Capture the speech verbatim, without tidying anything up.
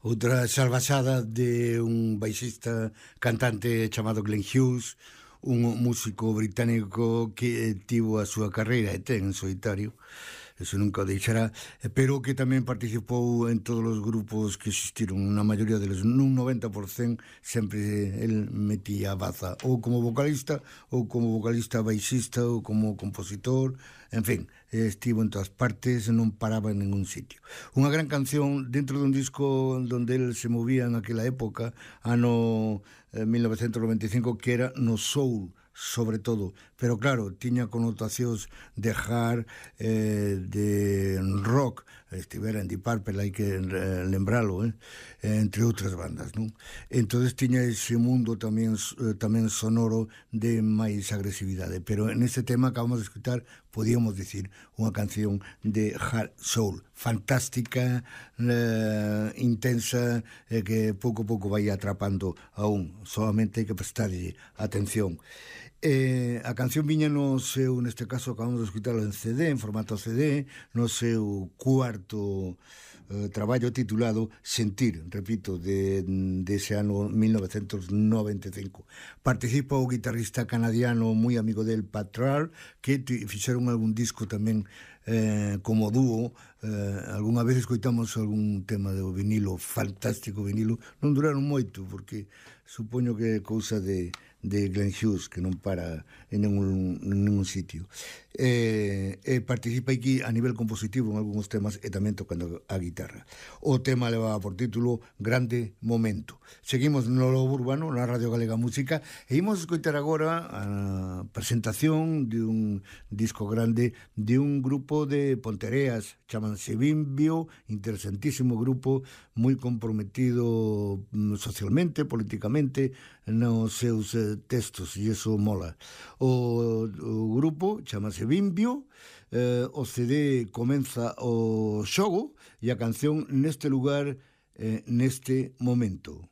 outra salvaxada de un baixista cantante chamado Glenn Hughes, un músico británico que tivo a súa carreira e ten en solitario, eso nunca o deixará, pero que tamén participou en todos os grupos que existiron, na maioría deles, nun noventa por cento sempre el metía a baza, ou como vocalista, ou como vocalista baixista, ou como compositor, en fin, estivo en todas partes, non paraba en ningún sitio. Unha gran canción dentro dun disco donde el se movía en aquela época, ano mil novecentos noventa e cinco, que era no soul, sobre todo, pero claro, tiña connotacións de hard, eh, de rock, estivera en Deep Purple, hai que eh, lembralo, eh? entre outras bandas, non? Entonces tiña ese mundo tamén eh, tamén sonoro de máis agresividade, pero en este tema acabamos de escutar, podíamos dicir, unha canción de hard soul, fantástica, eh, intensa, eh, que pouco a pouco vai atrapando a un, solamente hai que prestarlle atención. Eh, a canción viña no seu, neste caso acabamos de escutarlo en C D, en formato C D, no seu cuarto eh, traballo titulado Sentir, repito, de, de ese ano mil novecentos noventa e cinco. Participa o guitarrista canadiano moi amigo del, Pat Thrall, que fixeron algún disco tamén eh, como dúo. Eh, algunha vez escoitamos algún tema do vinilo, fantástico vinilo, non duraron moito porque supoño que é cousa de de Glenn Hughes, que non para en ningún, en ningún sitio. Eh, eh, participa aquí a nivel compositivo en algúns temas e tamén tocando a guitarra. O tema levaba por título Grande Momento. Seguimos no Lobo Urbano, na Radio Galega Música, e imos escoitar agora a presentación de un disco grande de un grupo de Pontereas, chamanse Bimbio, interesantísimo grupo, moi comprometido socialmente, políticamente, nos seus eh, textos, e iso mola. O, o grupo chamase Bimbio, eh, o C D comeza o xogo e a canción Neste Lugar, eh, Neste Momento.